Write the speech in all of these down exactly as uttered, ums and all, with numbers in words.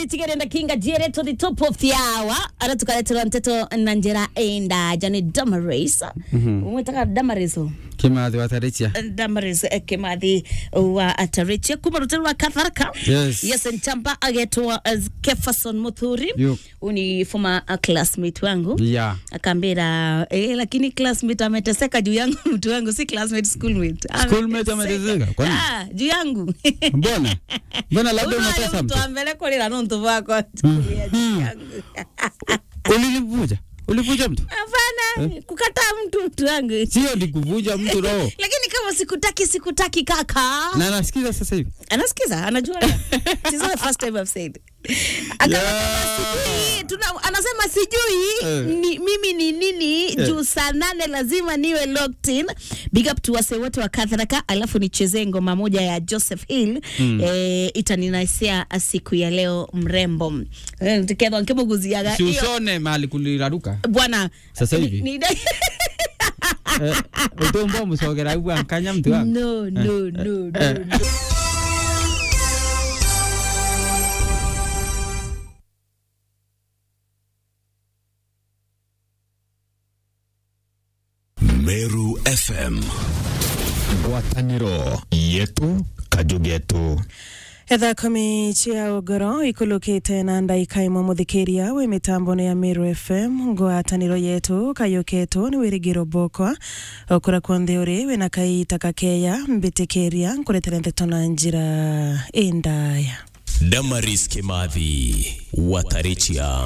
Tigere ndakinga jere to the top of the hour. Ara tukareterwa nteto na njira enda, jani Damaris. Mhm. Umwitaga Damaris o? Kimathi wa Tarichia. Damaris, eh, Kimathi wa Tarichia. Kuma rutero rwa Katharaka. Yes. Yes, Nchamba agetwa, eh, Kefason Muthuri. Yo. Uni former, uh, classmate wangu. Yeah. Akambira, "Eh, lakini classmate ameteseka juu yangu, mtu wangu, si classmate, schoolmate." Schoolmate ameteseka? Kwani? Ah, juu yangu. Mbona? Mbona labda unakosa mtu? Mtu wa mbele kulira nontu bwako. Mm. Juu yangu. Ulilivuja? Ulivuja mtu? Hapana, eh? Kukataa mtu, mtu wangu. Sio ni kuvuja mtu roho. Lakini kama sikutaki, sikutaki kaka. Na anasikiza sasa hivi? Anasikiza, anajua. This is not the first time I've said. Akasema, yeah, sijui, tuna-, anasema sijui, eh, ni, mimi ni nini, eh, juu saa nane lazima niwe locked in. Big up to wase wote wa Katharaka, alafu nichezee ngoma moja ya Joseph Hill. Mm. Eh, itaninaisia siku ya leo mrembo. Eh, tukethwa nkimuguziaga. Si iyo. Ushone mahali kuliraruka. Bwana, sasa hivi? Ni, ni Eh, utumbo mucogera igua nkanya mtu wangu. No, eh, no, eh, no, eh, no, no. Meru F M. Ngwataniro yetu, kaju getu. Etha kumi cia ugoro ikulukite na ndaika imwe, muthikiria wi mitambone ya Meru F M, ngwataniro yetu, kayu ketu ni wirigiro bwokwa. Okura kwonthe uri, wina kaita kakeya, mbitikiria, nkuretere nteto na njira indaya. Damaris Kimathi, Watarichia.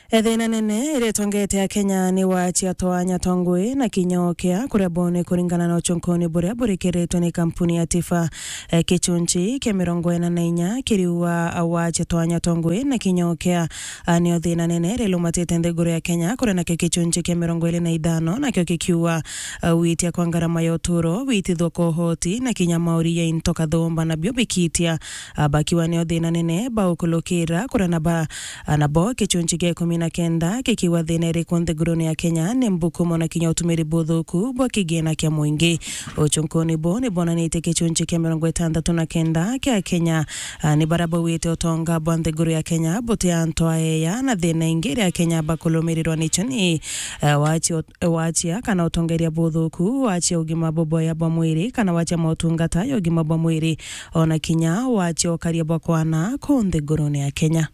Ethina nene iria itongete Akenya ni waachia twa nyatongwe na kinyokia kuria bone kuringana na uchunkuni buria burikiritwe ni kampuni ya Tifa. Eh, kichunchi kia mirongo ina na inya kiriuga waachia twa nyatongwe na kinyokia, ah, nio thina nene rilumatite nthiguru ya Kenya, kuria nakio kichunchi kia mirongo iri na ithano nakio kikiuga, ah, witia kwa ngarama ya uturo, witithwa kwa uhoti na kinya mauri ya into kathumba nabio bikitia. Ah, bakiwa nio thina nene baukulukira, kuria na ba, ah, nabo kichunchi kia ikumi na kenda kikiwa thina iriku nthigurune ya Kenya ni mbukumo na kinya utumiri buthuku bwa kigina kia mwingi. Uchunkuni bu ni bonanitie kichunchi kia mirongo itandatu na kenda kia Kenya, ah, ni baria bauite utonga bwa nthiguru ya Kenya buti antu aeya, na thina ingi iria Akenya bakulumirirwa nicho ni, eh, wachi Waachia kana utongeria buthuku, waachia ugima bubwega bwa mwiri, kana waachia motungata ya ugima bwa mwiri, ona kinya waachia ukaria bwa kwana ku nthigurune ya Kenya.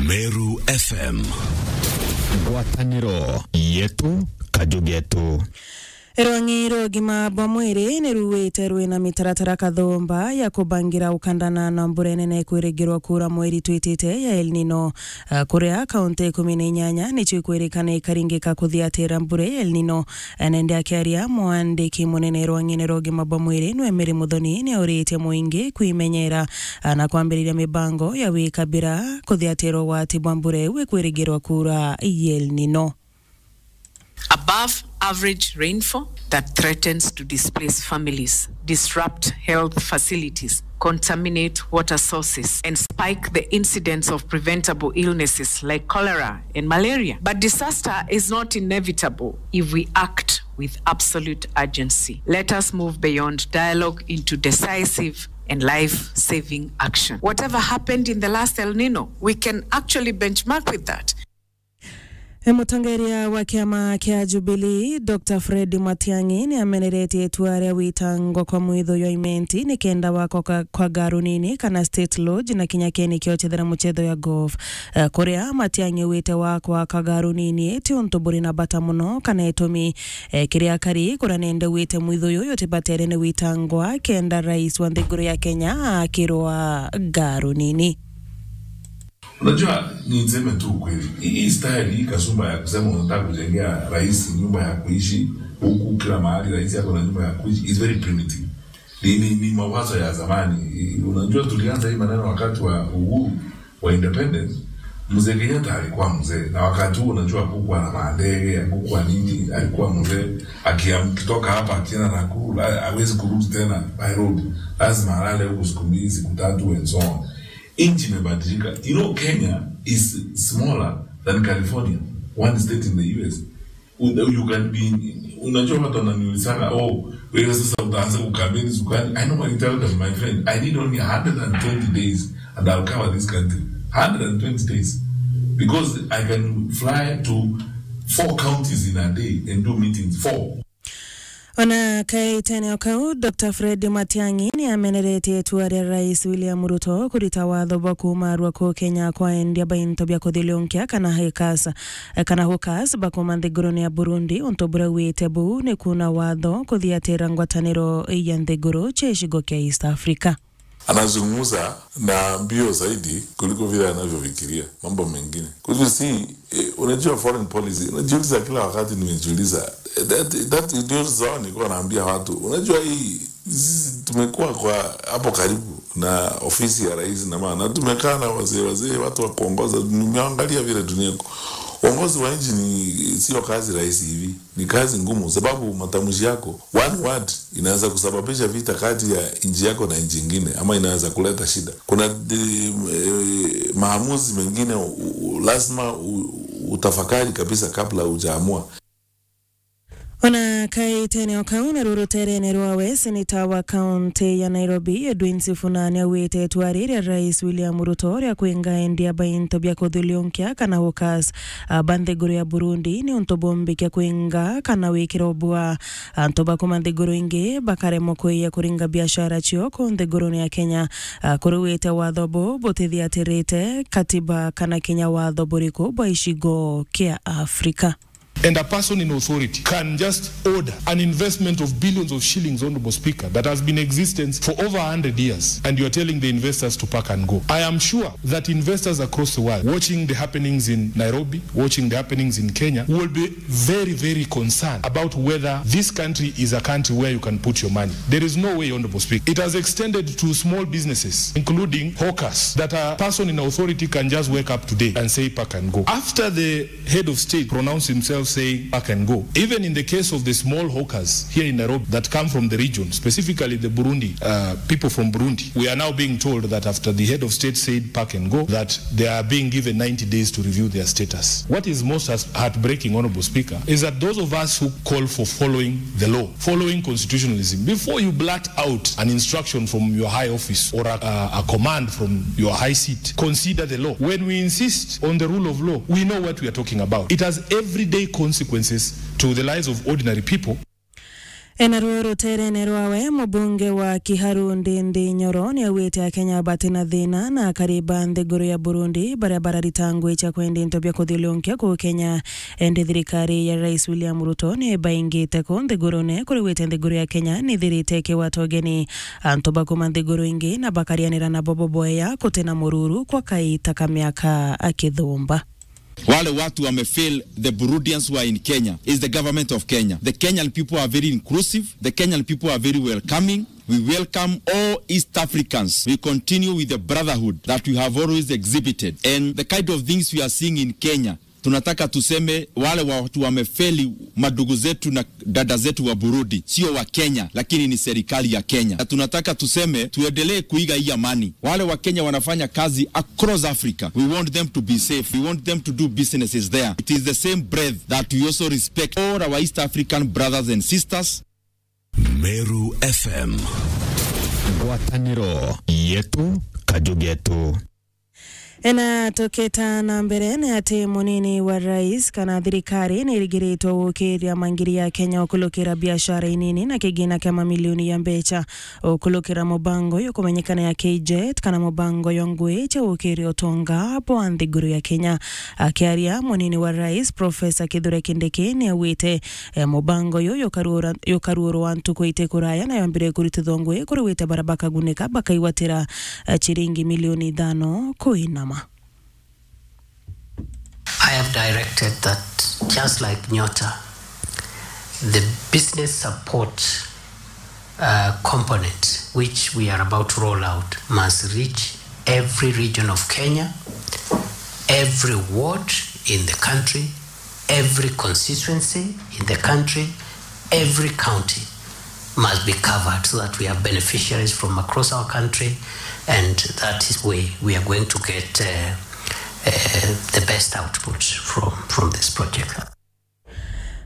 Meru F M. Ngwataniro yetu, kaju getu. Rwang'i rwa ugima bwa mwiri ni ruwite rwina mitaratara kathumba ya kubangira ukandana na mbura nene kwirigirwa kuura mweri twitite ya El Nino. Ah, kuria kaunti ikumi na inyanya nicio ikwirikana ikaringika kuthiatira mbura ya El Nino. Ah, nende akiaria, mwandiki munene rwang'ine rwa ugima bwa mwiri nwe Mary Muthoni ni auritie mwingi kwimenyera, ah, na kwambiriria mibango ya wikabira kuthiatira ugwati bwa mbura iu ikwirigirwa kuura ya El Nino. Above average rainfall that threatens to displace families, disrupt health facilities, contaminate water sources, and spike the incidence of preventable illnesses like cholera and malaria. But disaster is not inevitable if we act with absolute urgency. Let us move beyond dialogue into decisive and life-saving action. Whatever happened in the last El Nino, we can actually benchmark with that. E, mutongeria wa kiama kia Jubilee, Doctor Fred Matiang'i, ni ameneretie itua ria witangwa kwa mwitho jwa imenti ni kenda wakwa kwa, kwa garu nini kana state lodge na kinya keni kiochethera muchetho ya golf. E, kuria Matiang'i wite wakwa kwa garu nini ti untu buri na bata muno kana itumi, e, kiria kari kuria nende wite mwitho juju jutibatere ni witangwa kenda rais wa nthiguru ya Kenya akirwa garu nini. Unajua, ni niseme tu ukweli. Hii, hii style, hii kasumba ya kusema unataka kujengea rais nyumba ya kuishi, huku kila mahali rais ako na nyumba ya kuishi, is very primitive. Ni, ni, ni mawazo ya zamani. Unajua, tulianza hii maneno wakati wa uhuru, wa independence. Mzee Kenyatta alikuwa mzee, na wakati huo, unajua, hakukuwa na mandege, hakukuwa nini, alikuwa mzee. Akiam-, akitoka hapa akienda Nakuru, ha-, hawezi kurudi tena by road. Lazima alale huku siku mbili, siku tatu, and so on. Nchi imebadilika. You know, Kenya is smaller than California, one state in the U S. You, you can be, unajua, watu wananiulizana, "Oh, wewe sasa utaanza kukampeni siku gani?" I normally tell them, "My friend, I need only a hundred and twenty days and I'll cover this country." Hundred and twenty days. Because I can fly to four counties in a day and do meetings. Four. Ona kaitene o kau, Doctor Fred Matiang'i ni ameneretie itua ria Rais William Ruto kurita watho bwa kuumarua ku Kenya kwa endia ba into bia kuthiliunkia kana hawkers, kana hawkers bakuma nthigurune ya Burundi, untu buria augite buu ni kuuna watho kuthiatira ngwataniro ya nthiguru cia gicigo kia East Africa. Anazungumza na mbio zaidi kuliko vile anavyofikiria mambo mengine. Kwa hivyo si, eh, unajua foreign policy, unajiuliza kila wakati, nimejiuliza, eh, that, that ndio sawa nilikuwa naambia watu. Unajua hii, sisi tumekuwa kwa hapo karibu na ofisi ya rais na maana, tumekaa na wazee, wazee, watu wa kuongoza, nimeangalia vile dunia iko. Uongozi wa nchi ni, sio kazi rahisi hivi. Ni kazi ngumu, sababu matamshi yako, one word, inaweza kusababisha vita kati ya nchi yako na nchi ingine, ama inaweza kuleta shida. Kuna, eh, maamuzi mengine u-, u-, lazima u-, utafakari kabisa kabla hujaamua. Ona kaitene o kau, naru ruterene rwawe, seneta wa kaunti ya Nairobi, Edwin Sifuna, ni augite itua riria Rais William Ruto ria kwinga endia ba into bia kuthiliunkia kana hawkers, a, ba nthiguru ya Burundi ni untu bumbikia kwinga kana wikira ubua. Antu ba kuma nthiguru ingi bakaremwa kwija kuringa biashara cio ku nthigurune ya Kenya. A, kuri augite watho buu butithiatirite katiba kana kinya watho buriku bwa gicigo kia Afrika. And a person in authority can just order an investment of billions of shillings, Honorable Speaker, that has been in existence for over a hundred years, and you are telling the investors to pack and go. I am sure that investors across the world, watching the happenings in Nairobi, watching the happenings in Kenya, will be very, very concerned about whether this country is a country where you can put your money. There is no way, Honorable Speaker. It has extended to small businesses, including hawkers, that a person in authority can just wake up today and say, "Pack and go." After the head of state pronounced himself saying, "Pack and go." Even in the case of the small hawkers here in Nairobi that come from the region, specifically the Burundi, uh, people from Burundi, we are now being told that after the head of state said, "Pack and go," that they are being given ninety days to review their status. What is most heart-, heartbreaking, Honorable Speaker, is that those of us who call for following the law, following constitutionalism, before you blurt out an instruction from your high office or a, a, a command from your high seat, consider the law. When we insist on the rule of law, we know what we are talking about. It has everyday consequences to the lives of ordinary people. Enaruo ruterene rwawe, mubunge wa Kiharu Ndindi Nyoro ni augite Akenya batina thina na akari ba nthiguru ya Burundi baria bararita ngugi cia kwendia into bia kuthiliunkia kuu Kenya. Indi thirikari ya Rais William Ruto ni baingite kuu nthigurune, kuri augite nthiguru ya Kenya ni ithirite ikigwata ugeni antu ba kuma nthiguru ingi na bakarianira nabo boboeya kutina mururu kwa kaita ka miaka akithumba. Wale watu wamefail the Burundians who are in Kenya is the government of Kenya. The Kenyan people are very inclusive. The Kenyan people are very welcoming. We welcome all East Africans. We continue with the brotherhood that we have always exhibited. And the kind of things we are seeing in Kenya, tunataka tuseme wale watu wamefeli, madugu zetu na dada zetu wa Burundi, sio wa Kenya, lakini ni serikali ya Kenya. Na tunataka tuseme tuendelee kuiga hii amani. Wale wa Kenya wanafanya kazi across Africa. We want them to be safe. We want them to do businesses there. It is the same breath that we also respect all our East African brothers and sisters. Meru F M. Ngwataniro yetu, kaju getu. Ena tukita na mbere ni ati munini wa rais kana thirikari ni irigiritwe gukiria mangiri ya Kenya ukulukira biashara inini na kigina kia mamilioni ya mbecha ukulukira mubango yo kumenyekana ya K J E T kana mubango yo ngui cia gukiria utonga bwa nthiguru ya Kenya. Akiaria, munini wa rais Professor Kithure Kindiki ni augite, eh, mubango uyu yukaruura-, yukaruurwa ntuku iti kuraya na yambire kuritithwa ngui kuri augite baria bakagunika bakaigwatira, eh, ciringi milioni ithano kuinama. I have directed that, just like Nyota, the business support, uh, component which we are about to roll out must reach every region of Kenya, every ward in the country, every constituency in the country, every county must be covered so that we have beneficiaries from across our country, and that is way we are going to get, uh, uh, the best output from, from this project.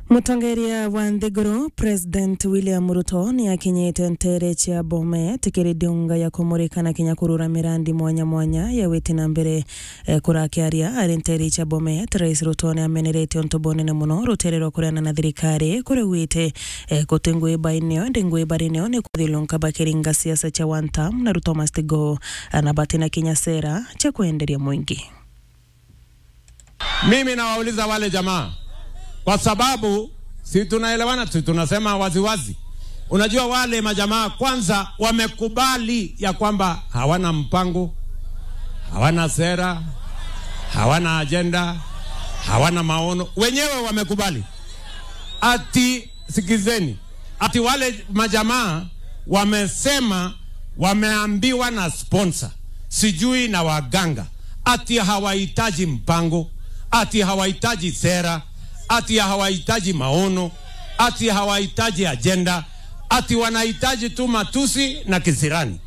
Mutongeria wa nthiguru, President William Ruto, ni akinyite ntere cia Bomet kiri ndiunga ya kumurika na kinya kurura mirandi mwanya mwanya ya witi na mbere. E, kurakiaria ari ntere cia Bomet, Rais Ruto ni amenerete untu bunene muno rutere rwa kureana na thirikari kuria ugwite, e, kuti ngui baineo, ndi ngui barineo ni kuthilunka bakiringa siasa cia one term na Ruto must go, na batina kinya sera cia kwenderia mwingi. Mimi nawauliza wale jamaa, kwa sababu si tunaelewana, si tunasema waziwazi. Unajua wale majamaa kwanza wamekubali ya kwamba hawana mpango, hawana sera, hawana ajenda, hawana maono. Wenyewe wamekubali. Ati, sikizeni, ati wale majamaa wamesema wameambiwa na sponsor, sijui na waganga, ati hawahitaji mpango, ati hawahitaji sera, ati hawahitaji maono, ati hawahitaji ajenda, ati wanahitaji tu matusi na kisirani.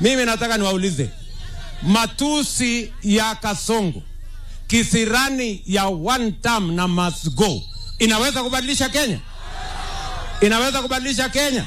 Mimi nataka niwaulize, matusi ya Kasongo, kisirani ya one term na must go, inaweza kubadilisha Kenya? Inaweza kubadilisha Kenya?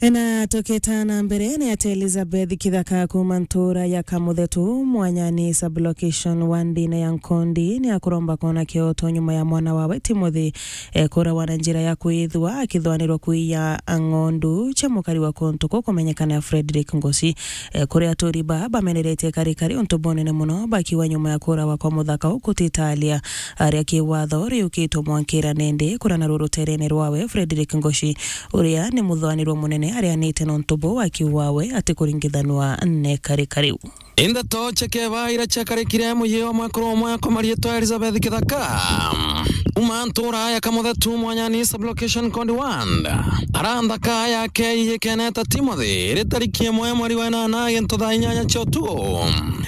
Ena tukita na mbere ni ati Elizabeth Kithaka kuma ntura ya Kamuthetu, Mwanyani sublocation wandine ya Nkondi, ni akuromba kwona kioto nyuma ya mwana wawe Timothy, e, kurawa na njira ya kwithwa akithwanirwa kuiya ng'ondu cia mukari wa kuntu ku kumenyekana ya Frederick Ngosi. E, kuri aturi ba bameneretie karikari untu bunene muno bakiuga nyuma ya kurawa kwa muthaka u kutitalia aria kiwatho riukitwe mwankira nende kurana ruruterene rwawe Frederick Ngosi, uria ni muthwanirwa munene arianite nontu bu akiuga we atikuringithanua ne karikari u. Indeto cia keba iria ciakarikire muyi wa mwekuru umwe kwa marietwa Elizabeth Kithaka, uma ntura ya Kamuthetu, Mwanyani sublocation Nkondi ward, ara nthaka yake iyikeneta Timothy, iri tariki imwe mweri wa inana gintu thaa inyanya cia utuku,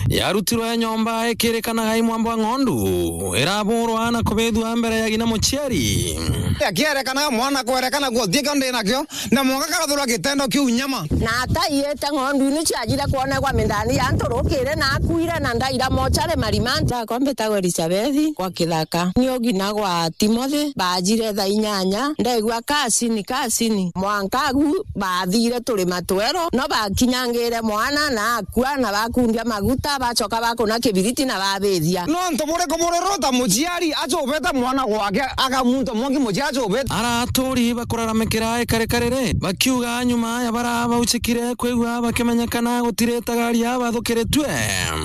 yarutirwe nyomba ikirikanaga i mwambo wa ng'ondu, iraburwa na kubithua mbere ya ng'ina muciari. Akierekanaga mwana kwerekana guo, ti kio ndi nakio, na mwanka karathurwa gitendo kiu nyama. Na ataiite ng'ondu ini ciajire kwonegwa mindani ya nturukire na akuire na ndaira mochari Marimanta. Akwa mbitagwa Elizabeth kwa Kithaka. Ni ugina gwa Timothy, bajire thaa inyanya, ndegua kasini, kasini. Mwanka agu bathire turi matwero, no bakinyangire mwana na akua na bakundia maguta, bacoka bakuna kibiriti na babithia. Nontu buriku buri ruta muciari acubite mwana gwake, aga muntu mwangi muciari acubite? Ara aturi bakuraramikira ikarikari ri, bakiuga nyuma ya bara bauchikire kwigua bakimenyekana gutiritaga aria bathukiritue.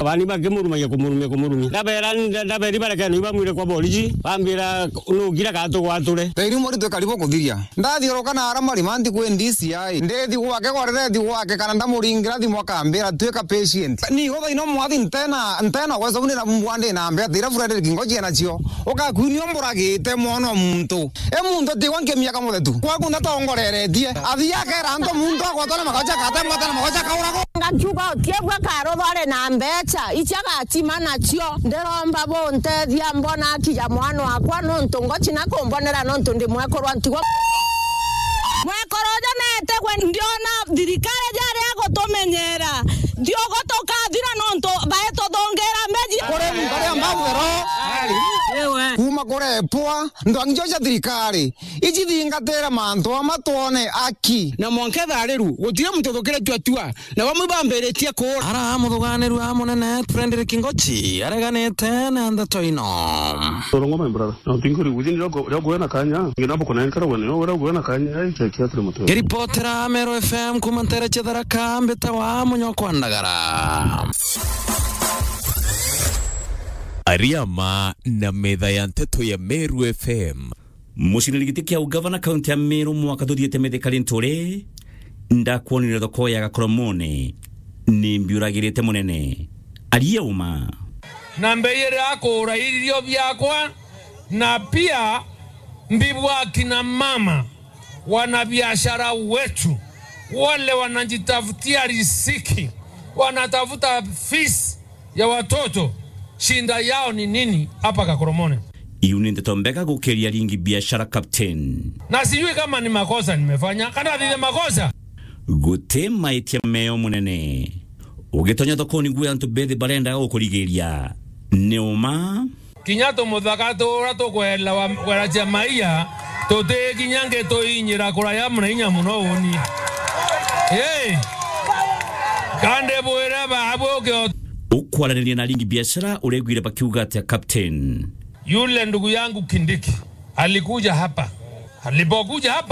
Bani bakimurumagia kumurumia kumurumia. Ndabera, nda-, ndaberi barekeni bamwire kwa boriji, bambira nugira gatugwature. Thairi muritu karibu kuthiria. Ndathiuruka na ara Marimanta kwi D C I. Ndithi gwake, gwarire thi gwake, kana ndamuringira thimu akambira, "Tuika patient." Nigo thaino mwathi ntena, ntena gwesa uni na mbwa ndi na mbeca, ira Frederick Ngochi enacio. Ukakwini umburagite mwana o muntu. E muntu tigwa nkimia Kamuthetu. Kwaku ndatongoreretie. Athi akera antu muntu agwatwa na magocha, akatemwa na magocha, akauragwa. Ngakiuga utiegua karuthore na mbeca, icia gachima nacio. Ndiromba buntethia mbona akija mwana wakwa, nontu Ngochi na kumbonera, nontu ndi mwekuru wa ntigo. Mwekuru uju netegwe, ndiona thirikari jaria gutumenyera. Ntiogo tukathira nontu baituthungira mbeji. Kuri muntu aria mbabwero. Ewe. Kuma kurepwa, ntwangi cio cia thirikari, icithingatire mantu ama twone aki. Na mwanka etharirwe, gutiri muntu uthukiritue atua. Na bamwe bambiritie kuura. Ara muthuganirua munene Frederick Ngochi areganite na ndeto ino. Torongo, my brother. Na utinguri within riogo, riogo wena kanya. Ngina buko na nkara wena, riogo wena kanya, ai, chekia tule mutu. Ngiripotera Meru F M kuma ntere cia Tharaka, mbitagwa Munyokwa Ndagara. Ariama na metha ya nteto ya Meru F M. Muciniri giti kia ugavana kaunti ya Meru mwaka tuthiite Mithika Linturi, ndakwonire thoko ya Gakoromone, ni mbiuragirite munene. Aria uma. Na mbeyire akuura irio biakwa, na pia mbibwa akina mama, wanabiashara wetu, wale wanajitafutia riziki, wanatafuta fees ya watoto, shinda yao ni nini hapa Gakoromone? Iu ni ndeto mbega gukiria ringi biashara, Captain. Na sijui kama ni makosa nimefanya, kana thithe makosa. Guti maitia meo munene. Ugitonya thokoni gwe antu bethi barenda gukurigiria. Ni uma. Kinya tumuthaka turia tukwela wa, kwela cia maia, tutikinya ngi tuinyira kuraya muna inya muno uni. Hey! Kandi bwire babu ukio- Ukwaraniria na aringi biashara, uregwire bakiuga atia, Captain? Yule ndugu yangu Kindiki alikuja hapa. Alipokuja hapa,